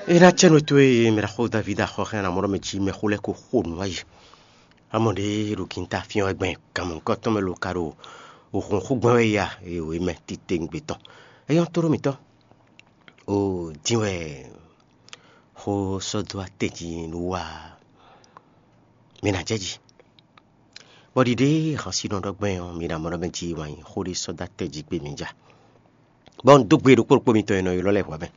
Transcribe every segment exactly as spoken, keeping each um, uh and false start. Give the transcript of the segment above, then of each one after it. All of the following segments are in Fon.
É ná cɛ́ nú towe e mɛ ɖaxó Davídi axɔ́ hɛn ná mɔ ɖɔ mɛ jí mɛxó lɛ́ɛ ko xo nǔ wá yi. Amɔ ɖě ɖo ginta fín wɛ gbɛn kanmɔ̌kɔ́ tɔn mɛ lo ka ɖo hǔnxú gbɛn wɛ ya e wě mɛ titewungbe tɔn. É nyɔ́ tóɖó mǐtɔn. O dín wɛ xó sɔ́ dó atɛ́ jí nú wa mi ná jɛ jí. Bɔ ɖiɖe hansinɔ ɖɔ gbɛn ɔ́, mi ná mɔ ɖɔ mɛ jí wǎn yí xó ɖé sɔ́ dó atɛ́ jí gbé mi ja. Bɔ un dó gbe ɖokpó ɖokpó mitɔn e nɔ ylɔ́ lɛ́ɛ hwɛ̌ mɛ.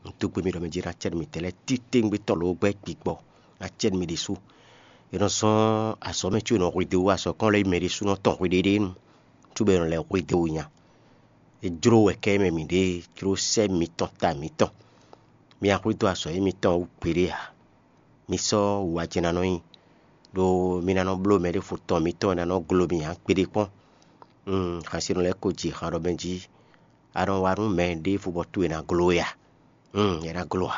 Un dó gbe mi ɖɔ mɛ jí ná cɛ́ nú mitɛn lɛ́ɛ titewungbe tɔn lǒ gbɛ́ gbigbɔ ná cɛ́ nú mi ɖésú. È nɔ zɔ́n azɔ̌ mɛ có è nɔ hwedó azɔ̌ kɔn lɛ́ɛ yi mɛ ɖésúnɔ tɔn hweɖéɖé nu, cóbɔ è nɔ lɛ́ hwedó nya. É jló wɛ kɛ mɛ mǐ ɖe jló sɛ́ mitɔn ta mǐtɔn. Mi ná hwedó azɔ̌ émítɔn wú gbeɖé ǎ. Mi sɔ́ wǔwajɛ ná nɔ nyi, ɖó mi ná nɔ bló mɛ ɖěvo tɔn mitɔn e ná nɔ glo mi ǎ gbeɖé kpɔ́n. Hansinɔ lɛ́ɛ ko ji han ɖɔ mɛ jí a nɔ wa nú mɛ ɖěvo bɔ towe ná gló we a? È ná gló ǎ.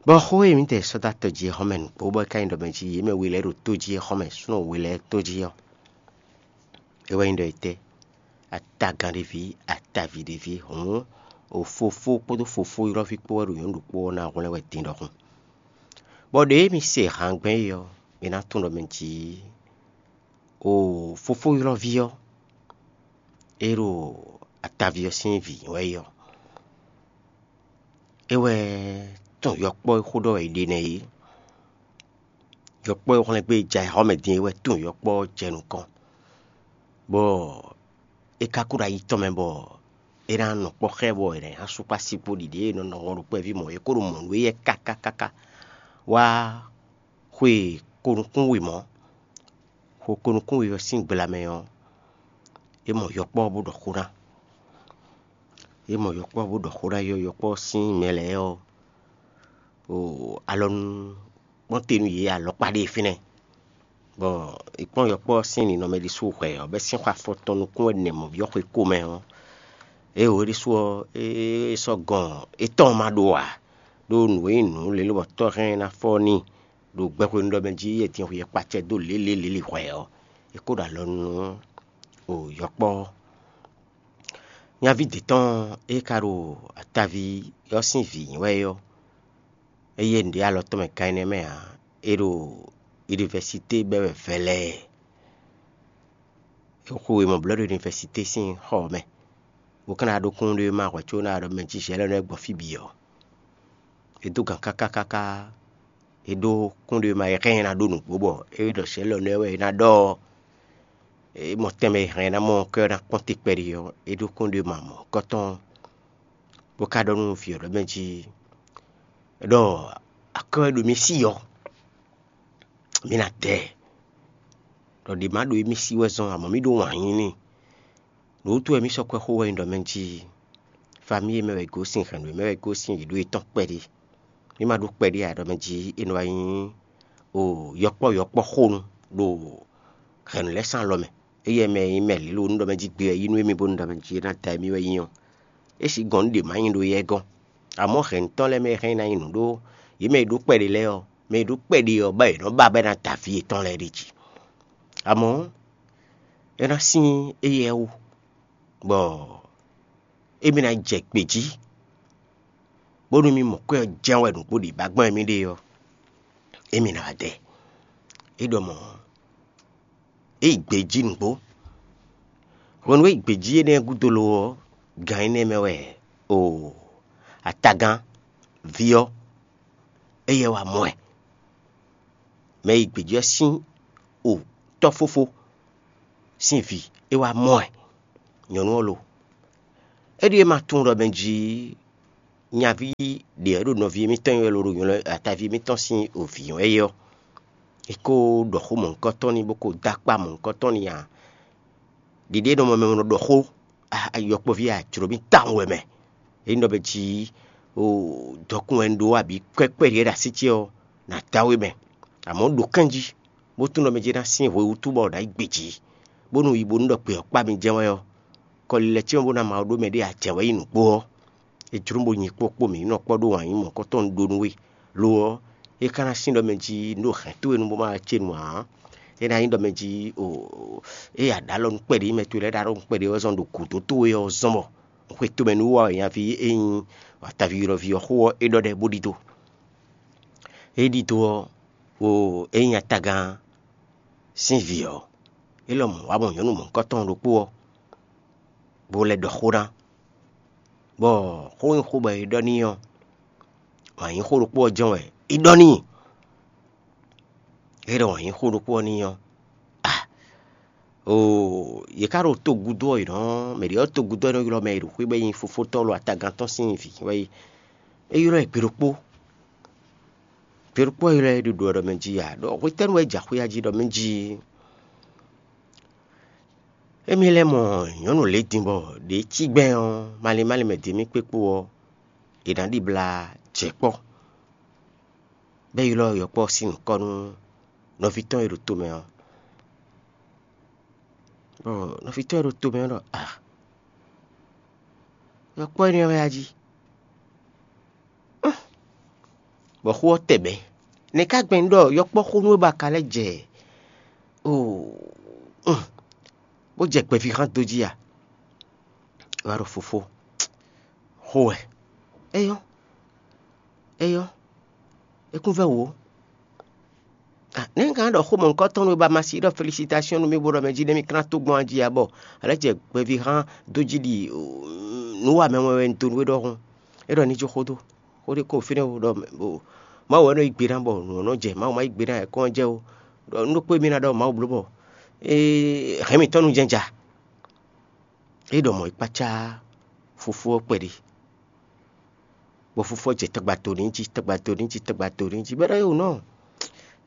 Bɔ xó e mǐtɛn sɔ́ dó atɔ jí é xɔ́mɛ nǔgbó bɔ é ka nyí ɖɔ mɛ jí yě mɛ we lɛ́ɛ ɖo tó jí é xɔ́mɛ súnnu we lɛ́ɛ tó jí ɔ́, é wɛ nyí ɖɔ etɛ́? Atagán ɖé ví, ataví ɖé ví hǔn, o fofó kpódó fofó ylɔ́ví kpó wɛ ɖo nyɔ̌nu ɖokpó ɔ́ ná hwlɛ́n wɛ din ɖɔhun. Bɔ ɖě mi se hangbɛ́n é ɔ́, mi ná tunwun ɖɔ mɛ jǐ o fofó ylɔ́ví ɔ́, é ɖo ataví ɔ́ sín vǐ wɛ é ɔ́. É wɛ tunwun yɔkpɔ́ e xó ɖɔ wɛ è ɖe nɛ́ é. Yɔkpɔ́ e hwlɛ́n gbé jɛ ayǐhɔ́mɛ din é wɛ tunwun yɔkpɔ́ ɔ́ jɛ nukɔn, bɔ é ka kú ɖo ayi tɔn mɛ bɔ é ná nɔ kpɔ́ xá ɛ bɔ è nǎ nylá sú kpó así kpó ɖiɖe e è nɔ nɔ wɔn ɖo kpɛví mɔ̌ é kó ɖo mɔ̌ nú éyɛ́ káká káká wá xwe konukún wěmɔ́. Xo konukún wě ɔ́ sín gbla mɛ ɔ́, é mɔ yɔkpɔ́ ɔ́ bó ɖɔ xó ná. É mɔ yɔkpɔ́ ɔ́ bó ɖɔ xó ná yɔ yɔkpɔ́ ɔ́ sín mɛ lɛ́ɛ ɔ́, o alɔnu kpɔ́n te nú yě alɔkpa ɖé fínɛ́. Bɔ è kpɔ́n yɔkpɔ́ ɔ́ sín ninɔmɛ ɖésú hwɛ ɔ́, bɔ é sín xɔ afɔ tɔn nukún wɛ nɛ mɔ̌ví ɔ́ xwe ko mɛ ɔ́, é wǒ ɖésú ɔ́, é sɔ́ gɔn étɔn ma ɖó ǎ, ɖó nǔ e nyí nǔ lě lobɔ tɔ́ hɛn ná fɔ n'i ɖo gbɛxwenu ɖɔ mɛ jí e din xweyɛ kpacɛ dó lě lě lě lě hwɛ ɔ́, é kó ɖo alɔ nú o yɔkpɔ́ ɔ́. Nyaví dě tɔn e ka ɖo ataví ɔ́ sín vǐ nyí wɛ é ɔ́, é yé nǔɖé alɔ tɔn mɛ gan énɛ́ mɛ ǎ; é ɖo univɛsité bɛ́ wɛ vɛlɛɛ. Xwe e mɔ blɔ̌ ɖo univɛsité sín xɔ ɔ́ mɛ, bó ka ná ɖó kúnnuɖewéma hwɛ̌ có ná ɖɔ mɛ jí zɛ̌ lɛ́ɛ nɔ gbɔ fí bǐ ɔ́. É dó gan káká káká, é ɖó kúnnuɖewéma e hɛn ɛ ná ɖó nǔgbó bɔ é ɖɔ zɛ̌ lɛ́ɛ nɔ wɛ é ná ɖɔ ɔ́, é mɔ tɛnmɛ e hɛn ɛ ná mɔ ɔ́ ká ná kpɔ́n te kpɛɖé ɔ́, é ɖó kúnnuɖewéma mɔ̌hunkɔtɔn, bó ka ɖɔ nú vǐ ɔ́ ɖɔ mɛ jí ɖɔ akwɛ́ wɛ ɖo mì sí ɔ́, mǐ ná dɛ ɛ. Ɖɔ ɖě ma ɖo émí sí wɛ zɔ́n, amɔ̌ mì ɖó wǎn yí n'i. Nǔ wútu wɛ mì sɔ́ kwɛ́ xó wɛ nyí ɖɔ mɛ jí famíyi e mɛ wɛ è gosín, hɛ̌nnu e mɛ wɛ è gosín, yě ɖó yětɔn kpɛɖé. Mì ma ɖó kpɛɖé ǎ, ɖɔ mɛ jí é nɔ wá nyí o yɔkpɔ́ yɔkpɔ́ xónu ɖo hɛ̌nnu lɛ́ɛ sín alɔ mɛ. Éyɛ́ mɛ e nyí mɛ lělo nú ɖɔ mɛ jí gbe wɛ yí nú émí bónú ɖɔ mɛ jí é ná da émí wɛ nyí ɔ́, é sixú gɔn nú ɖě ma nyí ɖó yɛ gɔ́n. Amɔ̌ hɛ̌nnutɔ́ lɛ́ɛ mɛ e hɛn ná nyi nǔ ɖó yě mɛ e ɖó kpɛɖé lɛ́ɛ ɔ́, mɛ e ɖó kpɛɖé ɔ́ ba è nɔ ba bɔ é ná da vǐ yětɔn lɛ́ɛ ɖ'é jí. Amɔ̌, é ná sín éyɛ́ wú, bɔ émí ná jɛ gbě jí, bónú mì mɔ kwɛ́ ɔ́ jɛ́n wɛ nǔgbó ɖě ba gbɔn émí ɖe ɔ́, émí ná wá dɛ. É ɖɔ mɔ̌, é yi gbě jí nǔgbó. Hwenu e é yi gbě jí énɛ́ gúdo lo ɔ́, gan énɛ́ mɛ wɛ o atagán ví ɔ́, éyɛ́ wá mɔ ɛ. Mɛ e yi gbě jí ɔ́ sín o tɔ́ fófó sín vǐ, é wá mɔ ɛ. Nyɔ̌nu ɔ́ lo, é ɖíe ma tunwun ɖɔ mɛ jí nyaví ɖě ɔ́ ɖo nɔví émítɔn wɛ lo ɖo nylɔ́ ataví émítɔn sín ovǐ wɛ é ɔ́, é kó ɖɔ xó mɔ̌hunkɔtɔn n'i bó ko dó akpá mɔ̌hunkɔtɔn n'i ǎ. Ɖiɖe e nɔ mɔ mɛ nɔ ɖɔ xó yɔkpɔ́ví a jlǒ mì tawun wɛ mɛ. É nyí ɖɔ mɛ jí o dɔkun wɛ un ɖó abǐ kwɛ́ kpɛɖé ɖo así ce ɔ́, nǎ dá we mɛ. Amɔ̌ ɖo kɛ́n jí, bó tunwun ɖɔ mɛ jí ná sín hwe wútu bɔ nǎ yi gbe jí, bónú yi bónú ɖɔ gbě ɔ́ kpá mi jɛ́n wɛ ɔ́, kɔlilɛ ce ɔ́ bó ná ma ɖó mɛ ɖé ǎ jɛ wɛ nyí nǔgbó ɔ́, é jló bó nyi kpó kpó mǐ ní nɔ kpɔ́ ɖó wǎn yí mɔ̌hunkɔtɔn ɖó nú we. Lo ɔ́, é ka ná sín ɖɔ mɛ jí un ɖo hɛ̌n towe nu bó ma wá ce nu ǎ. É ná nyí ɖɔ mɛ jí o é ya ɖǒ alɔ nú kpɛɖé mɛ towe lɛ́ɛ ɖo alɔ nú kpɛɖé wɛ zɔn ɖo gǔdo towe ɔ́ zɔn bɔ Xwe tomɛ nú wa wɛ nyaví e nyí ataví ylɔ́ví ɔ́ xó ɔ́, é ɖɔ ɖɛ bó ɖidó. É ɖidó ɔ́, wo é nyí atagán sín vǐ ɔ́, é lɔmɔ̌ wá mɔ nyɔ̌nu mɔ̌hunkɔtɔn ɖokpó ɔ́, bó lɛ́ ɖɔ xó ná, bɔ xó e nyí xó bɔ è ɖɔ n'i ɔ́, wǎn yíxó ɖokpó ɔ́ jɛ́n wɛ é ɖɔ n'i. É ɖɔ wǎn yíxó ɖokpó ɔ́ n'i ɔ́, a oo, yě ká ɖo togúdo ɔ́, yě nɔ mɛ ɖě ɔ́ togúdo ɔ́ nɔ ylɔ́ mɛ e ɖo xwé bɔ é nyí fofótɔ́ lɔ atagán tɔn sín vǐ wɛ é. É ylɔ́ ɛ gbe ɖokpó. Gbe ɖokpó ɔ́ ylɔ́ ɛ ɖo ɖɔ mɛ jí ǎ, ɖɔ hwetɛ́nu wɛ é jɛ axwé jí ɖɔ mɛ jí? Émí lɛ́ mɔ nyɔ̌nu lě din bɔ ɖě cí gbɛn ɔ́, malín malín mɛ din mì kpé kpó ɔ́, è nǎ ɖibla jɛ kpɔ́, bɔ é ylɔ́ yɔkpɔ́ sín nyǐkɔ nú nɔví tɔn e ɖo tomɛ ɔ́. Bɔ nɔví tɔn e ɖo tomɛ ɔ́ ɖɔ: A, yɔkpɔ́ énɛ́ ɔ́ wɛ a jí? Bɔ xó ɔ́ tɛ bɛ̌. Nɛ̌ ká gbɛn un ɖɔ yɔkpɔ́ xó nú we bɔ a ka lɛ́ jɛ oo, bó jɛ gbɛvíhan dó jí a? É wá ɖɔ: Fofó, xó wɛ. Éyɔ́, éyɔ́, é kún vɛ́ wǔ ó. Nɛ̌ un ka ɖɔ xó mɔ̌hunkɔtɔn nú we bɔ a ma si ɖɔ felisitasɔ́n nú mì bó ɖɔ mɛ jí nɛ́ mì klán tó gbɔn a jí ǎ, bɔ a lɛ́ jɛ gbɛvíhan dó jí ɖi nǔ wa mɛ wɛn wɛ un dó nú we ɖɔhun? É ɖɔ ní jó xó dó. Xó ɖé ko fínɛ́ ó, ɖɔ Mawu wɛ nɔ yí gbe ná bɔ nǔ ɔ́ nɔ jɛ, Mawu ma yí gbe ná wɛ kɔn ɔ́ jɛ ó. Ɖɔ nú ɖokpó e mì ná ɖɔ Mawu bló bɔ é hɛn mǐtɔn nú jɛnja. É ɖɔ mɔ̌ yi kpácá fofó ɔ́ kpɛɖé, bɔ fofó ɔ́ jɛ tagba to n'i jí, tagba to n'i jí, tagba to n'i jí, bɔ é ɖɔ é wǒ nɔ.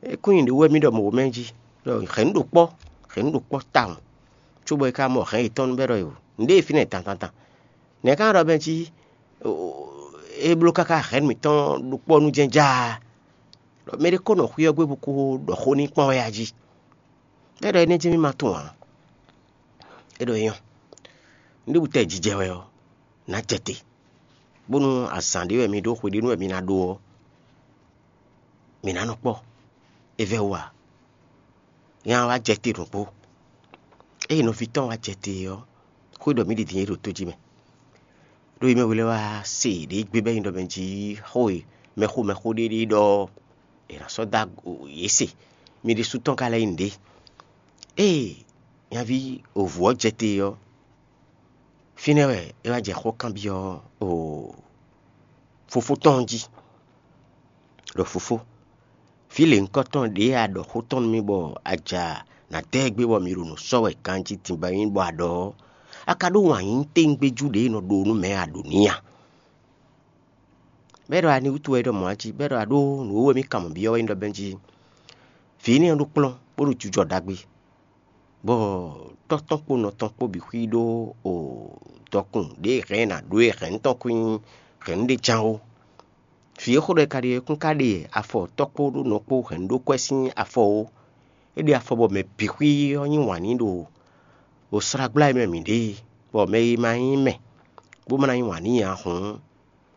É kún nyi nǔɖé wú wɛ mì ɖɔ mɔ̌ mɛ jí, ɖɔ hɛ̌nnu ɖo kpɔ́, hɛ̌nnu ɖo kpɔ́ tawun, cóbɔ é ka mɔ hɛ̌n yětɔn bɔ é ɖɔ é wǒ. Nǔɖé e fínɛ́ dandandan. Nɛ̌ ká ɖɔ mɛ jí é bló káká hɛ̌nnu mǐtɔn ɖo kpɔ́ nú jɛ́n jáá? Ɖɔ mɛ ɖé ko nɔ xwí ɔ́ gbé bó ko ɖɔ xó n'i kpɔ́n wɛ a jí? É ɖɔ énɛ́ jɛ́n mì ma tunwun ǎ. É ɖɔ é nyɔ́. Nǔɖé bú tɛ jijɛ wɛ ɔ́, nǎ jɛ te, bónú azǎn ɖé wɛ mi ɖó, xwe ɖé nú wɛ mi ná ɖó ɔ́, mǐ ná nɔ kpɔ́. É vɛ́ wú ǎ. Nya wá jɛ te nǔgbó. Ée nɔví tɔn wá jɛ te ɔ́, xwé ɖɔ mǐ ɖi din é ɖo tó jí mɛ. Ɖó yi mɛ we lɛ́ɛ wá se ɖě gbé bɔ é nyí ɖɔ mɛ jí xó e mɛxó mɛxó ɖé ɖe ɖɔ è nǎ sɔ́ dó yě se. Mi ɖésú tɔn ka lɛ́ nyí nǔɖé. Ée nyaví wǒvú ɔ́ jɛ te ɔ́, fínɛ́ wɛ é wá jɛ xó kanbyɔ́ fofó tɔn jí, ɖɔ: Fofó, vǐ lěhunkɔtɔn ɖě a ɖɔ xó tɔn nú mì bɔ a ja nǎ dɔ́ ɛ gbé bɔ mi ɖo nǔ sɔ́ wɛ ganjí din bɔ é nyí bɔ a ɖɔ ɔ́, a ka ɖó wǎn yí tɛ́ngbéjú ɖě e nɔ ɖó nú mɛ a ɖǒ n'i a? Bɔ é ɖɔ: Ani wútu wɛ é ɖɔ mɔ̌ a jí? Bɔ é ɖɔ: A ɖó nǔ e wɛ mì kan mɔ̌ byɔ́ wɛ nyí ɖɔ bɛ́ jí vǐ énɛ́ ɔ́ ɖó kplɔ́n, bó ɖo jijɔ ɖagbe, bɔ tɔ́ tɔn kpó nɔ tɔn kpó bǐ xwí ɖó dɔkun ɖě hɛn ná ɖó e hɛ̌nnu tɔn kún nyí hɛ̌nnu ɖé ján ó. Vǐ e xó ɖɔ è ka ɖe ɔ́ kún ka ɖe afɔ tɔ́ kpó ɖó nɔ kpó hɛ̌nnu ɖó kwɛ́ sín afɔ ó. É ɖe afɔ bɔ mɛ bǐ xwí ɔ́ yí wǎn n'i ɖo wǒslágbla e mɛ mǐ ɖe é, bɔ mɛ e ma nyí mɛ, bó ma ná yí wǎn n'i ǎ hǔn,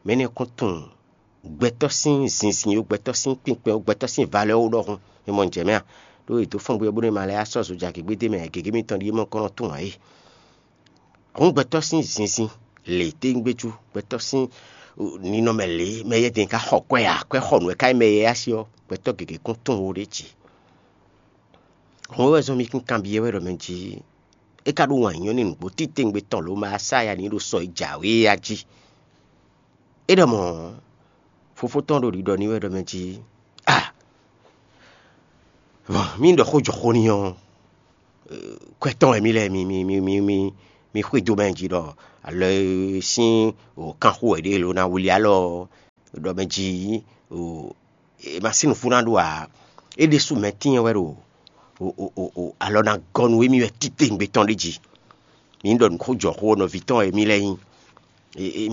mɛ énɛ́ kún tunwun gbɛtɔ́ sín zinzin ó, gbɛtɔ́ sín kpinkpɛn ó, gbɛtɔ́ sín valɛ́ ó ɖɔhun. Mi mɔ nǔ jɛ mɛ a? Ɖó è dǒ fɔ́ngbó ɔ́ bónú è ma lɛ́ yá sɔ́ zojagigbédé mɛ ǎ, gěgé mitɔn ɖíe mɔ kɔ́ nɔ tunwun ǎ é. Hǔn gbɛtɔ́ sín zinzin lě téngbéjú, gbɛtɔ́ sín ninɔmɛ lě mɛ yɛ́dɛn ka xɔ kwɛ ǎ, kwɛ xɔ nǔ wɛ ka nyí mɛ e yá sí ɔ́, gbɛtɔ́ gěgé kún tunwun ó ɖě jí. Hǔn é wɛ zɔ́n mì kún kanbyɔ́ wɛ ɖɔ mɛ jí é ka ɖó wǎn nyɔ́ n'i nǔgbó titewungbe tɔn lǒ ma sá ya n'i ɖo sɔ e jǎwe é a jí. É ɖɔ mɔ̌, fofó tɔn ɖo ɖiɖɔ n'i wɛ ɖɔ mɛ jí: A, vɔn, mì ɖɔ xó jɔ xó n'i ɔ́, kwɛ tɔn wɛ mì lɛ́ mi mi mi mi mi mi xwedó mɛ jí ɖɔ alɔ e sín kanxó wɛ ɖě lo ná wlí alɔ ɖɔ mɛ jí è ma sín nǔfú ná ɖó ǎ. É ɖésú mɛ tínnyɛ wɛ ɖo alɔ ná gɔ́ nú émí wɛ titewungbe tɔn ɖé jí. Mi ní ɖɔ nǔ xó jɔ xó ɔ́, nɔví tɔn e mì lɛ́ nyí.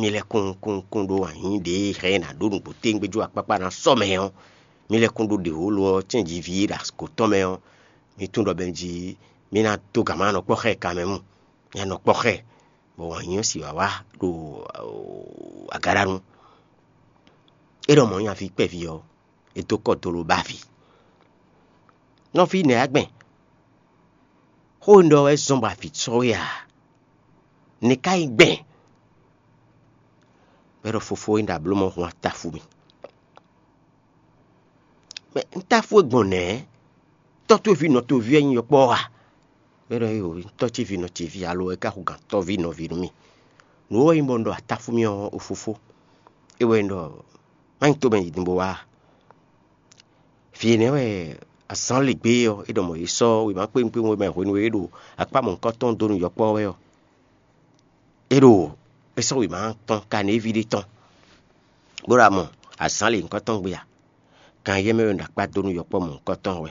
Mi lɛ́ kún kún kún ɖó anyǐ ɖě hɛn ná ɖó nǔgbó téngbéjú akpákpá ná sɔ́ mɛ ɔ́, mi lɛ́ kún ɖó ɖě wǒ lo ɔ́ cɛ́njiví e ɖo asiko tɔn mɛ ɔ́, mi tunwun ɖɔ bɛ́ jí mi ná dó gǎn ma nɔ kpɔ́ xá ɛ ka mɛ mu. Mi ná nɔ kpɔ́ xá ɛ, bɔ wǎn nyí ɔ́ sì wǎ wá ɖo agaɖanu. É ɖɔ mɔ̌ nyaví kpɛví ɔ́, é dó kɔ dó ló ba avǐ. Nɔví nɛ̌ wá gbɛn? Xó e un ɖɔ wɛ zɔ́n bɔ avǐ sɔ́ we a? Nɛ̌ ka nyí gbɛn? Bɔ é ɖɔ: Fofó, é ɖo abló mɔ hun atáfu mì. Mɛ un táfu é gbɔn nɛ̌? Tɔ́ towe ví nɔ towe ví wɛ nyí yɔkpɔ́ ɔ́ a? Bɔ é ɖɔ: Éeǒ, tɔ́ ce ví nɔ ce ví alo é ka hu gǎn tɔ́ví nɔví nú mì. Nǔ e wɛ nyí bɔ un ɖɔ atáfu mì ɔ́, o fofó, é wɛ nyí ɖɔ má nyí tomɛ yi din bó wá a? Fí énɛ́ wɛ azǎn lě gbé ɔ́, é ɖɔ mɔ̌ é sɔ́ wěma kpéwún kpéwún e mɛ hwenu e é ɖo akpá mɔ̌hunkɔtɔn dó nú yɔkpɔ́ wɛ ɔ́, é ɖo é sɔ́ wěma tɔn Kanévi ɖé tɔn, bó ɖo amɔ azǎn lě nyǐkɔ tɔn gbe a? Kan éyɛ́ mɛ wɛ un ɖo akpá dó nú yɔkpɔ́ mɔ̌hunkɔtɔn wɛ,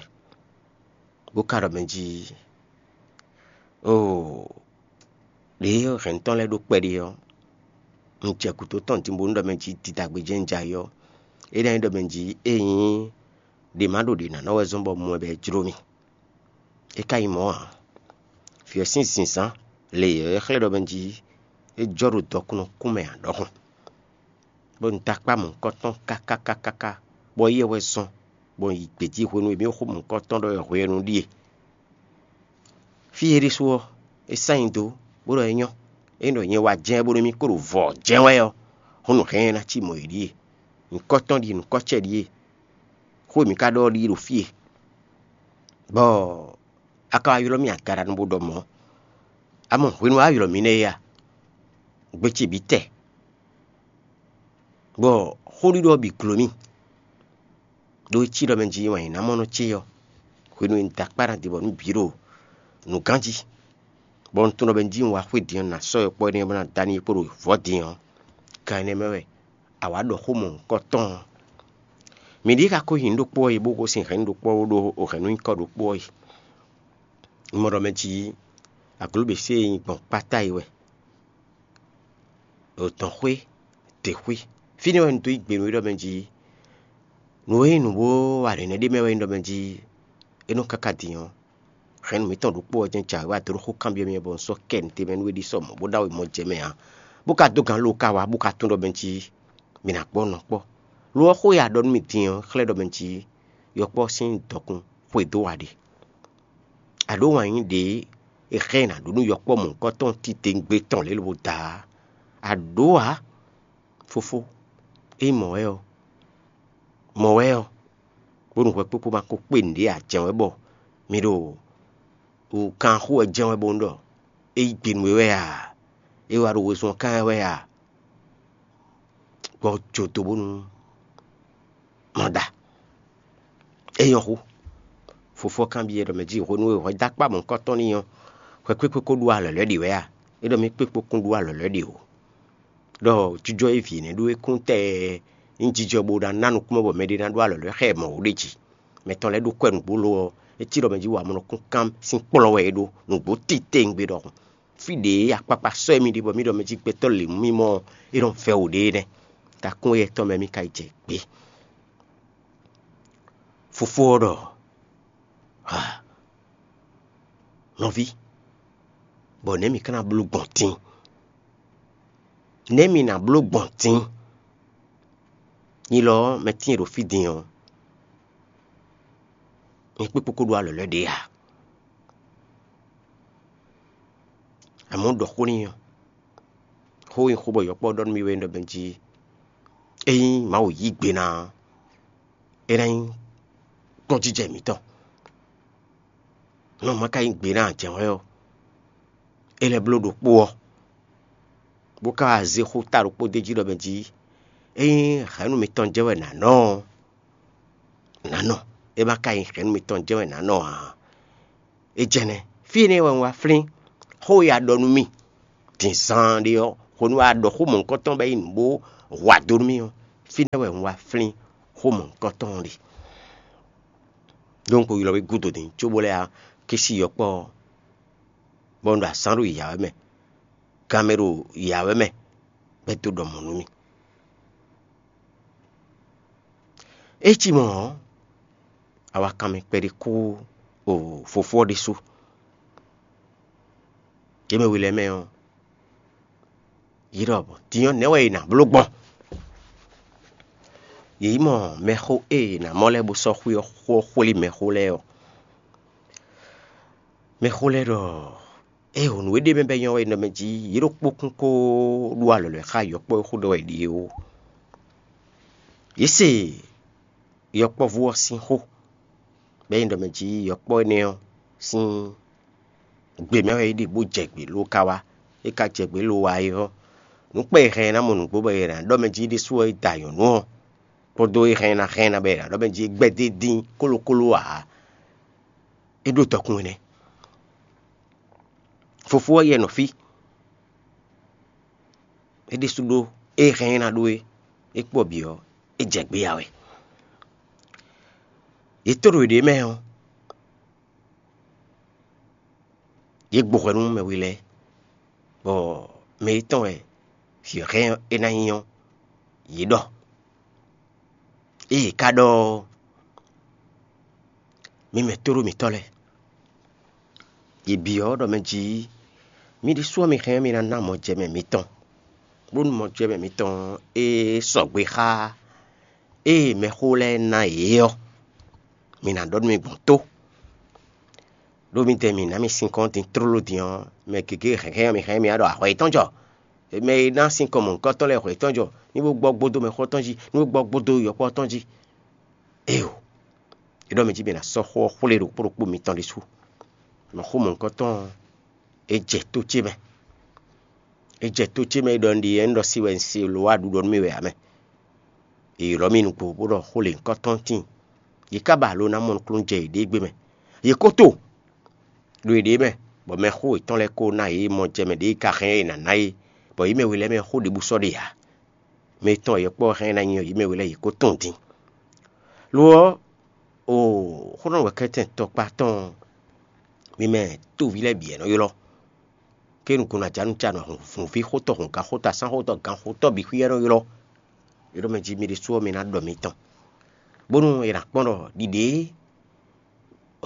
bó ka ɖɔ mɛ jí: Oo, ɖě hɛ̌nnu tɔn lɛ́ɛ ɖó kpɛɖé ɔ́, un jɛ gǔdo tɔn din bónú ɖɔ mɛ jí didagbe jɛ́n un jɛ ayǐ ɔ́, é ná nyí ɖɔ mɛ jí é nyí ɖě ma ɖo ɖě ná nɔ wɛ zɔ́n bɔ mɔ ɛ bɔ é jló mì. É ka nyí mɔ̌ ǎ. Vǐ ɔ́ sín zǐnzán lě yɔ̌yɔ́ xlɛ́ ɖɔ mɛ jí é jɔ ɖo dɔkunnɔkún mɛ ǎ ɖɔhun, bɔ un dó akpá mɔ̌hunkɔtɔn káká káká káká, bɔ éyɛ́ wɛ zɔ́n, bɔ un yi gbějí hwenu e mǐ xo mɔ̌hunkɔtɔn ɖɔ wɛ hwenu ɖíe. Fí e ɖésú ɔ́, é sán nyi dó, bó ɖɔ é nyɔ́; é nyí ɖɔ nyɛ wá jɛ́n bónú mì kó ɖo vɔ̌ jɛ́n wɛ ɔ́, hɔn nǔ hɛn ná cí mɔ̌ yi ɖíe; nyǐkɔ tɔn ɖíe, nyǐkɔ ce ɖíe; xó e mǐ ka ɖɔ ɔ́ ɖíe ɖo fí e. Bɔ a ka wá ylɔ́ mì agaɖanu bó ɖɔ mɔ̌. Amɔ hwenu e a ylɔ́ mì nɛ́ é a? Gbe ce bǐ tɛ, bɔ xóɖiɖɔ ɔ́ bǐ gló mì. Ɖó é cí ɖɔ mɛ jí wǎn yě ná mɔ nɔ ce ɔ́, hwenu e un da akpá ná din bɔ nǔ bǐ ɖo nǔgán jí, bɔ un tunwun ɖɔ mɛ jí un wá xwé din ɔ́, nǎ sɔ́ yɔkpɔ́ énɛ́ bó ná dó ani kpo ɖo vɔ̌ din ɔ́, gan énɛ́ mɛ wɛ a wǎ ɖɔ xó mɔ̌hunkɔtɔn ɔ́. Mǐ ɖíe ka ko nyi nǔ ɖokpó ɔ́ yi bó gosín hɛ̌nnu ɖokpó ɔ́ bó ɖó hɛ̌nnu nyíkɔ ɖokpó ɔ́ yi. Un mɔ ɖɔ mɛ jí aglǒběsé e nyi gbɔn kpáta yi wɛ, ɖo dɔ̌nxwé, děxwé. Fínɛ́ wɛ un dó yí gbe nú we ɖɔ mɛ jí nǔ e nyí nǔ bó wa nɛ̌nɛ́ ɖé mɛ wɛ nyí ɖɔ mɛ jí é nɔ káká din ɔ́, hɛ̌nnu mǐtɔn ɖokpó ɔ́ jɛ́n jǎwe wá dó ɖo xó kanbyɔ́ mì wɛ bɔ un sɔ́ kɛ nǔ tɛnmɛ nú we ɖi sɔ mɔ̌ bó ɖo awe mɔ jɛ mɛ ǎ, bó ka dó gǎn lo ka wá bó ka tunwun ɖɔ mɛ jí mǐ ná kpɔ́ nɔ kpɔ́. Lo ɔ́, xó e a ɖɔ nú mì din ɔ́ xlɛ́ ɖɔ mɛ jí yɔkpɔ́ sín dɔkun xwedó a ɖe. A ɖǒ wǎn yí ɖě è xlɛ́ nǎ ɖó nú yɔkpɔ́ mɔ̌hunkɔtɔn titewungbe tɔn lě lobo da ǎ. A ɖǒ ǎ, fofó, ényí mɔ̌ wɛ ɔ́, mɔ̌ wɛ ɔ́, bónú hwɛkpékpó ma ko kpé nǔɖé ǎ jɛ́n wɛ bɔ mi ɖo wǔkan xó wɛ jɛ́n wɛ bónú ɖɔ é yí gbe nú we wɛ a? É wá ɖo wezun ɔ́ kán wɛ a? Gbɔ jo do bónú ma ɖa. É nyɔ́ xú. Fofó ɔ́ kanbyɔ́ ɖɔ mɛ jí hwenu e hwɛ dó akpá mɔ̌hunkɔtɔn n'i ɔ́, hwɛ kpékpé ko ɖó alɔ̌lɔ́ ɖe wɛ a? É ɖɔ mì kpékpó kún ɖó alɔ̌lɔ́ ɖe o. Ɖɔ jijɔ e vǐ énɛ́ ɖó é kún tɛɛ nyí jijɔ bó ná ná nukúnmɛ bɔ mɛɖé ná ɖó alɔ̌lɔ́ xá ɛ mɔ̌ ó ɖe jí. Mɛ tɔn lɛ́ɛ ɖó kwɛ́ nǔgbó lo ɔ́, é cí ɖɔ mɛ jí wǎmɔnɔkún kán sín kplɔ́n wɛ é ɖó, nǔgbó titewungbe ɖɔhun. Fí ɖě akpakpa sɔ́ émí ɖe bɔ mí ɖɔ mɛ jí gbɛtɔ́ lě mú mì mɔ é nɔ vɛ́ wǔ ɖe é nɛ́. Takún éyɛ́ tɔn mɛ mí ka yi jɛ gbě. Fofó ɔ́ ɖɔ: "Ha, nɔví, bɔ nɛ̌ mǐ ka ná bló gbɔn din? Nɛ̌ mǐ ná bló gbɔn din? Nyi lɔ ɔ́, mɛ tíin e ɖo fí din ɔ́, nyɛ kpékpé ko ɖó alɔ̌lɔ́ ɖě ǎ." Amɔ̌ ɖɔ xó n'i ɔ́, xó e nyí xó bɔ yɔkpɔ́ ɖɔ nú mì wɛ é ɖɔ mɛ jí: "Ényí Mawu yí gbe ná ɔ́, é ná nyí kpɔ́njijɛ mǐtɔn. Nɔ ma ka yí gbe ná jɛ̌nwɛ́ ɔ́, é lɛ́ bló ɖokpó ɔ́, bó ka wá zé xó ta ɖokpó d'é jí ɖɔ mɛ jí: Ényí hɛ̌nnu mitɔn jɛ́n wɛ nǎ nɔ ɔ́, nǎ nɔ; é ma ka nyí hɛ̌nnu mitɔn jɛ́n wɛ nǎ nɔ ǎ." É jɛ́nɛ́, fí énɛ́ wɛ un wá flín xó e a ɖɔ nú mì din zaan ɖé ɔ́, hwenu e a ɖɔ xó mɔ̌hunkɔtɔn bɔ é nyí nǔ bó hu ado nú mì ɔ́, fínɛ́ wɛ un wá flín xó mɔ̌hunkɔtɔn ɔ́ ɖe. Ɖó un ko ylɔ́ we gúdo din cóbó lɛ́ wá kɛ́ sí yɔkpɔ́ ɔ́, bɔ un ɖo azǎn ɖo yǎ wɛ mɛ, gan mɛ ɖo yǎ wɛ mɛ, bɔ é dó ɖɔ mɔ̌ nú mì. É cí mɔ̌ ɔ́, awakanmɛ kpɛɖé kú o fofó ɔ́ ɖésú. Yě mɛ we lɛ́ɛ mɛ ɔ́, yě ɖɔ bɔ din ɔ́, nɛ̌ wɛ è nǎ bló gbɔn? Yě yi mɔ mɛxó e è nǎ mɔ lɛ́ɛ bó sɔ́ xwé ɔ́ xó ɔ́ xwlé mɛxó lɛ́ɛ ɔ́. Mɛxó lɛ́ɛ ɖɔ: Ée hǔn nǔ e ɖ'é mɛ bɔ é nyɔ́ wɛ é nɔ mɛ jí, yě ɖokpó kún kó ɖó alɔ̌lɔ́ xá yɔkpɔ́ e xó ɖɔ wɛ è ɖe é ó. Yě se yɔkpɔ́vú ɔ́ sín xó, bɔ é nyí ɖɔ mɛ jí yɔkpɔ́ énɛ́ ɔ́ sín gbe mɛ wɛ é ɖe bó jɛ gbě ló ka wá. É ka jɛ gbě ló wá é ɔ́, nǔ kpɛ́ e hɛn ná mɔ nǔgbó bɔ è nǎ ɖɔ mɛ jí ɖésú ɔ́ é da nyɔ̌nu ɔ́, kpódó é hɛn ná hɛn ná bɔ è nǎ ɖɔ mɛ jí é gbɛ́ dó dín kólokólo ǎ. É ɖó dɔkun énɛ́. Fofó ɔ́ yɛ nɔ fí. É ɖésú ɖó é hɛn é ná ɖó é, é kpɔ bǐ ɔ́, é jɛ gbé ya wɛ. Yě to ɖo yěɖée mɛ ɔ́, yě gbo hwɛ nú mɛ we lɛ́ɛ, bɔ mɛ e tɔn wɛ vǐ ɔ́ hɛn é ná nyí ɔ́, yě ɖɔ. Ée yě ka ɖɔ ɔ́, mi mɛ tóɖó mǐtɔn lɛ́ɛ, yě byɔ́ ɖɔ mɛ jí, mi ɖésú ɔ́ mi hɛn ɔ́ mi ná ná mɔjɛmɛ mitɔn, bónú mɔjɛmɛ mitɔn e sɔgbe xá ée mɛxó lɛ́ɛ ná yě ɔ́, mi ná ɖɔ nú mi gbɔn tó. Ɖó midɛɛ mǐ ná mi sinkɔn din tlóló din ɔ́, mɛ gěgé hɛ̌nhɛ́n ɔ́ mi hɛn mi wá ɖɔ ahwɛ yětɔn jɔ. Mɛ e ná sinkɔn mɔ̌hunkɔtɔn lɛ́ɛ hwɛ yětɔn jɔ, ní bó gbɔ gbódó mɛxó tɔn jí, ní bó gbɔ gbódó yɔkpɔ́ tɔn jí. Éeǒ! É ɖɔ mɛ jí mɛ ná sɔ́ xó ɔ́ xwlé ɖokpó ɖokpó mitɔn ɖésú. Mɔ̌ xó mɔ̌hunkɔtɔn ɔ́, é jɛ tó ce mɛ. É jɛ tó ce mɛ é ɖɔ un ɖi é un ɖɔ si wɛ un se lo wá ɖuɖɔ nú mì wɛ ǎ mɛ. È ylɔ́ mì nukpo bó ɖɔ xó lěhunkɔtɔn tíin. Yě ká ba alo ná mɔ nukúnnú jɛ yěɖée gbe mɛ. Yě ko to ɖo yěɖée mɛ, bɔ mɛxó yětɔn lɛ́ɛ ko ná yě mɔ jɛ mɛ ɖě e ka hɛn é ná ná é, bɔ yě mɛ we lɛ́ɛ mɛ xó ɖěbǔ sɔ́ ɖe ǎ. Mɛ tɔn e yɔkpɔ́ hɛn ná nyi ɔ́, yě mɛ we lɛ́ɛ yě ko tunwun din. Lo ɔ́, o xó nɔ wɛ kɛ́tɛn tɔkpá tɔn mi mɛ tóví lɛ́ɛ bǐ wɛ nɔ ylɔ́. Ké nukúnnu ajǎnúcanɔ, hǔnví xótɔ́, hǔngán xótɔ́, asán xótɔ́, gan xótɔ́ bǐ xwí wɛ nɔ ylɔ́. É ɖɔ mɛ jí mi ɖésú ɔ́ mi ná ɖɔ mitɔn, bónú è nǎ kpɔ́n ɖɔ ɖiɖě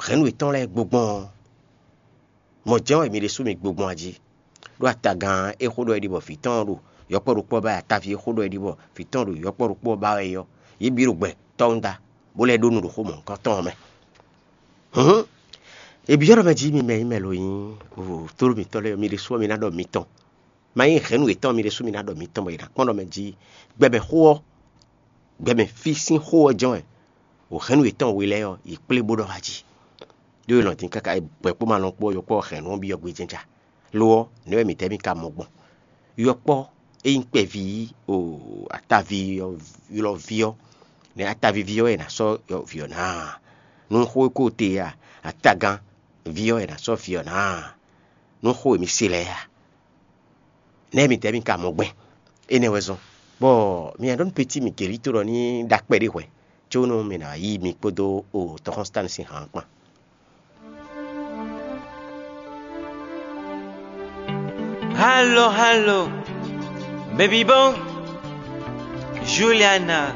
hɛ̌nnu yětɔn lɛ́ɛ gbogbɔn ɔ́, mɔ̌ jɛ́n wɛ mi ɖésú mi gbogbɔn a jí? Ɖó atagán e xó ɖɔ é ɖi bɔ vǐ tɔn ɔ́ ɖo yɔkpɔ́ ɖokpó ɔ́ ba wɛ, ataví e xó ɖɔ é ɖi bɔ vǐ tɔn ɖo yɔkpɔ́ ɖokpó ɔ́ ba wɛ é ɔ́, yě bǐ ɖo gbɛ tɔ́wúnda, bó lɛ́ ɖó nǔ ɖo xó mɔ̌hunkɔtɔn ɔ́ mɛ. Hǔn, è byɔ́ ɖɔ mɛ jí mi mɛ nyí mɛ lo nyí tóɖó mitɔn lɛ́ɛ ɔ́, mi ɖésú ɔ́ mi ná ɖɔ mitɔn. Ma nyí hɛ̌nnu yětɔn mi ɖésú mi ná ɖɔ mitɔn bɔ è nǎ kpɔ́n ɖɔ mɛ jí gbɛmɛ xó ɔ́, gbɛmɛ fí sín xó ɔ́ jɛ́n wɛ. Hɛ̌nnu yětɔn we lɛ́ɛ ɔ́, yě kplé bó ɖɔ wá jí. Ɖó è nɔ dín káká gbɛ̌ kpó ma lɔn kpó ɔ́, yɔkpɔ́ hɛ̌nnu ɔ́ byɔ́ gbé jɛ́nja. Lo ɔ́, nɛ̌ wɛ mǐtɛ́ mì ka mɔ gbɔn? Yɔkpɔ́ e nyí kpɛví o ataví ɔ́ ylɔ́ ví ɔ́, nɛ̌ atavíví ɔ́ wɛ è nǎ sɔ́ vǐ ɔ́ ná a? Nú xó e ko te a, atagán ví ɔ́ wɛ è nǎ sɔ́ vǐ ɔ́ ná a? Nú xó e mi se lɛ́ɛ a? Nɛ̌ mitɛ́ mi ka mɔ gbɛn? Énɛ́ wɛ zɔ́n, bɔ mi nɔ ɖɔ nú peti mi Gelito ɖɔ ní ɖó akpɛ ɖé hwɛ̌, có nú mi ná yí mi kpódó o tɔxɔ́nstánu sín han kpán. Halo, halo, baby boo, Juliana.